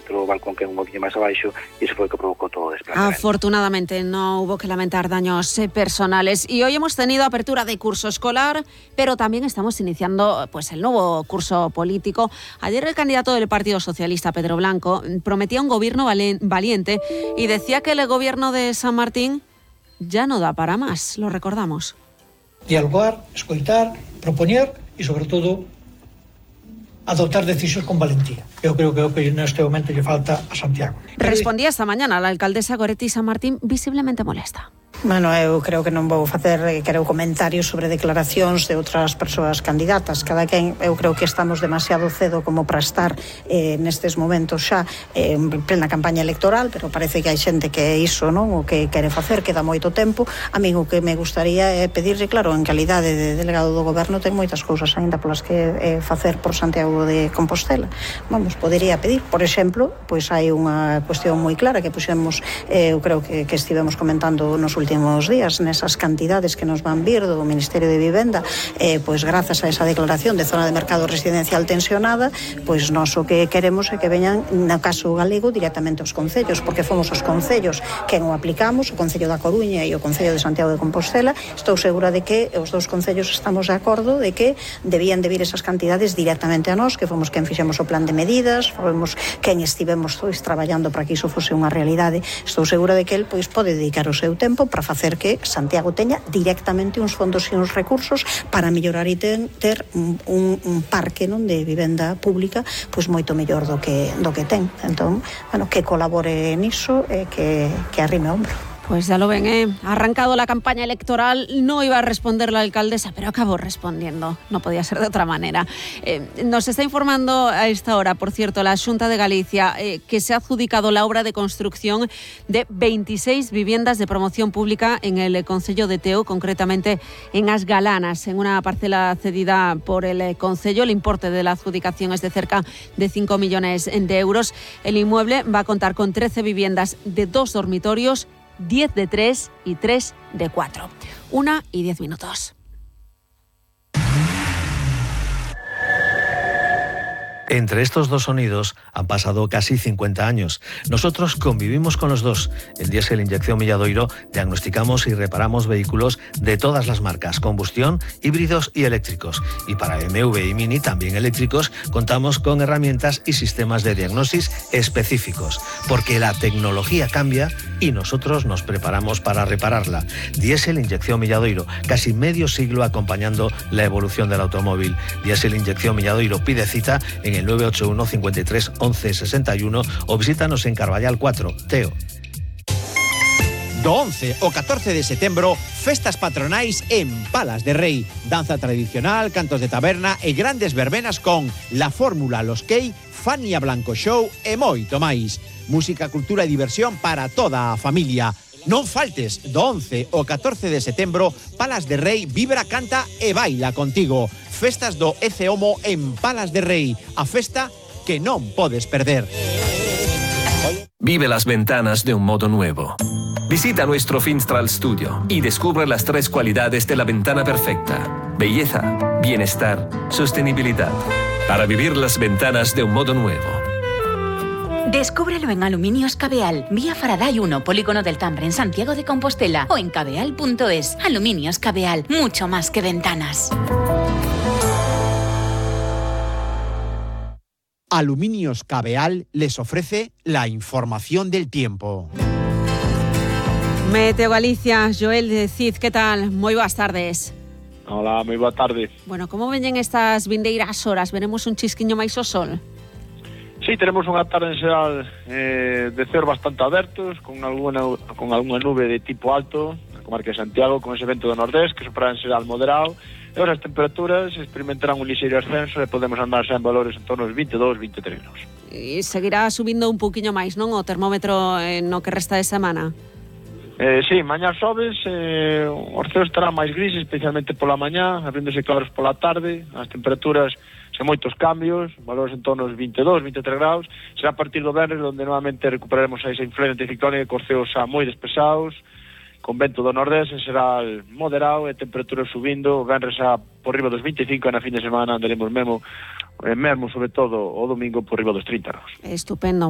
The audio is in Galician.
outro balcón que é un poquinho máis abaixo, e iso foi o que provocou todo o desplazamento. Afortunadamente no hubo que lamentar daños personales. Y hoy hemos tenido apertura de curso escolar, pero también estamos iniciando pues el nuevo curso político. Ayer el candidato del Partido Socialista, Pedro Blanco, prometía un gobierno valiente y decía que el gobierno de San Martín ya no da para más. Lo recordamos. Dialogar, escoitar, propoñer e, sobre todo, adoptar decisións con valentía. Eu creo que é o que neste momento lle falta a Santiago. Respondía esta mañana la alcaldesa Goretti San Martín, visiblemente molesta. Bueno, eu creo que non vou facer comentarios sobre declaracións de outras persoas candidatas. Cada quen, eu creo que estamos demasiado cedo como para estar nestes momentos xa en plena campaña electoral, pero parece que hai xente que é iso, non? O que quere facer, queda moito tempo. A mí o que me gustaría é pedirle, claro, en calidade de delegado do goberno, ten moitas cousas aínda polas que facer por Santiago de Compostela. Vamos, podería pedir, por exemplo, pois hai unha cuestión moi clara que puxemos, eu creo que estivemos comentando nos últimos días, nesas cantidades que nos van vir do Ministerio de Vivenda, pois grazas a esa declaración de zona de mercado residencial tensionada, pois nós o que queremos é que veñan, no caso galego, directamente aos concellos, porque fomos os concellos que o aplicamos, o Concello da Coruña e o Concello de Santiago de Compostela. Estou segura de que os dous concellos estamos de acordo de que debían de vir esas cantidades directamente a nós, que fomos quen fixemos o plan de medidas, fomos quen estivemos traballando para que iso fose unha realidade. Estou segura de que el pois pode dedicar o seu tempo para facer que Santiago teña directamente uns fondos e uns recursos para mellorar e ter un parque, non, de vivenda pública pois moito mellor do que ten. Entón, bueno, que colabore niso e que arrime o hombro. Pues ya lo ven, arrancado la campaña electoral, no iba a responder la alcaldesa, pero acabó respondiendo, no podía ser de otra manera. Nos está informando a esta hora, por cierto, la Xunta de Galicia, que se ha adjudicado la obra de construcción de 26 viviendas de promoción pública en el concello de Teo, concretamente en As Galanas, en una parcela cedida por el concello. El importe de la adjudicación es de cerca de 5 millones de euros. El inmueble va a contar con 13 viviendas de 2 dormitorios, 10 de 3 y 3 de 4. 1:10. Entre estos dos sonidos han pasado casi 50 años. Nosotros convivimos con los dos. En Diesel Inyección Milladoiro diagnosticamos y reparamos vehículos de todas las marcas, combustión, híbridos y eléctricos. Y para MV y Mini, también eléctricos, contamos con herramientas y sistemas de diagnosis específicos, porque la tecnología cambia y nosotros nos preparamos para repararla. Diesel Inyección Milladoiro, casi medio siglo acompañando la evolución del automóvil. Diesel Inyección Milladoiro, pide cita en el 981 53 11 61 o visítanos en Carballal 4, Teo. Do 11 ao 14 de setembro, festas patronais en Palas de Rei. Danza tradicional, cantos de taberna e grandes verbenas con La Fórmula, Los Key, Fania Blanco Show e moito máis. Música, cultura e diversión para toda a familia. Non faltes, do 11 ao 14 de setembro, Palas de Rei vibra, canta e baila contigo. Festas do ECEOMO en Palas de Rei, a festa que non podes perder. Vive las ventanas de un modo nuevo. Visita nuestro Finstral Studio y descubre las 3 cualidades de la ventana perfecta: belleza, bienestar, sostenibilidad. Para vivir las ventanas de un modo nuevo. Descúbrelo en Aluminios Cabeal, vía Faraday 1, Polígono del Tambre, en Santiago de Compostela, o en cabeal.es. Aluminios Cabeal, mucho más que ventanas. Aluminios Cabeal les ofrece la información del tiempo. Meteo Galicia, Joel de Cid, ¿qué tal? Moi boas tardes. Hola, moi boa tarde. Bueno, como veñen estas vindeiras horas? Veremos un chisquiño máis ao sol? Sí, tenemos unha tarde en xeral de ceo bastante abertos, con algunha nube de tipo alto, na comarca de Santiago, con ese vento do nordés, que sopra en xeral moderado, e ahora as temperaturas experimentarán un lixeiro ascenso e podemos andar xa en valores en torno aos 22-23 graus. E seguirá subindo un pouquiño máis, non, o termómetro no que resta de semana? Sí, mañá xoves, os ceos estarán máis grises, especialmente pola mañá, abríndose claros pola tarde, as temperaturas sen moitos cambios, valores en torno aos 22-23 graus. Será a partir do venres onde novamente recuperaremos esa influencia anticiclónica cos ceos xa moi despesados, con vento do nordés, será moderado e temperaturas subindo, o venres xa por riba dos 25 e na fin de semana andaremos mesmo sobre todo o domingo por riba dos 30 graus. Estupendo.